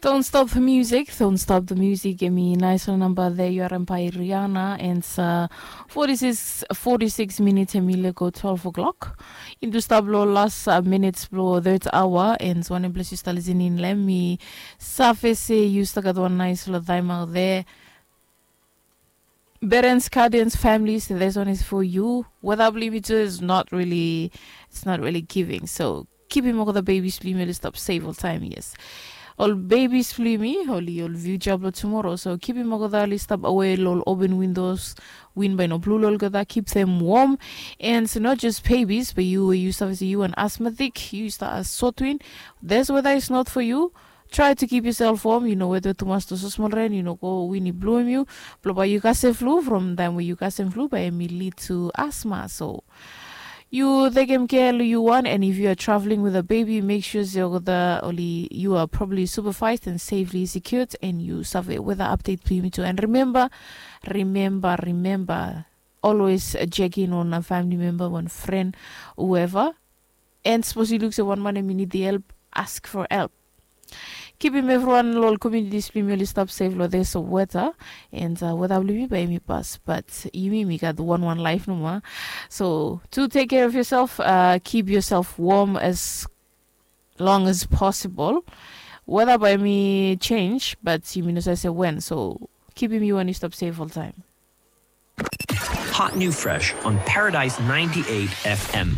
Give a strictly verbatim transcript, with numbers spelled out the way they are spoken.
Don't stop the music, don't stop the music. Em i naisfala namba de yu harim bai Riana, and uh, forty-six, forty-six minutes em i lego twelve o'clock. Into stap lo las uh, minutes blo third hour, and wanem ples yu stap listening long em, mi save se yu stap gat wan naisfala taim out there. Parents, guardians, families, this one is for you. Whether believe it is not really, it's not really giving. So kipim olgeta bebis blong yumi oli stap safe oltaim, yes. Ol bebis blong yumi oli ol future blong tumoro, so kipim olgeta oli stap awe lo ol open windows, win bai no blu lo olgeta, keep them warm. And not just babies, but you we yu stap se yu an asthmatic, yu stap as sotwin, this weather is not for you. Try to keep yourself warm, yu no wetwet tumas long so smol ren, yu no go win i bluim yu. Blo bai yu kasem flu, from taim we yu kasem flu bai em i lead to asthma. So yu tekem kea lo yu wan, and if you are traveling with a baby, make sure se olgeta oli yu are properly supervised and safely secured, and yu save weather update blong yumi tu. And remember, remember, remember, always check in on a family member, wan fren, whoever. And sapos yu luk se wan man em i nid help, ask for help. Kipim evriwan lo ol communities blong yumi oli stap safe lo this weather. And uh, weather blong yumi bai yumi pas, but yumi, mi gat wan wan life nomo. So to take care of yourself, uh, keep yourself warm as long as possible. Weather bai yumi change, but yumi no save se when. So kipim yu an yu stap safe oltaim. Hot New Fresh on Paradise ninety-eight F M.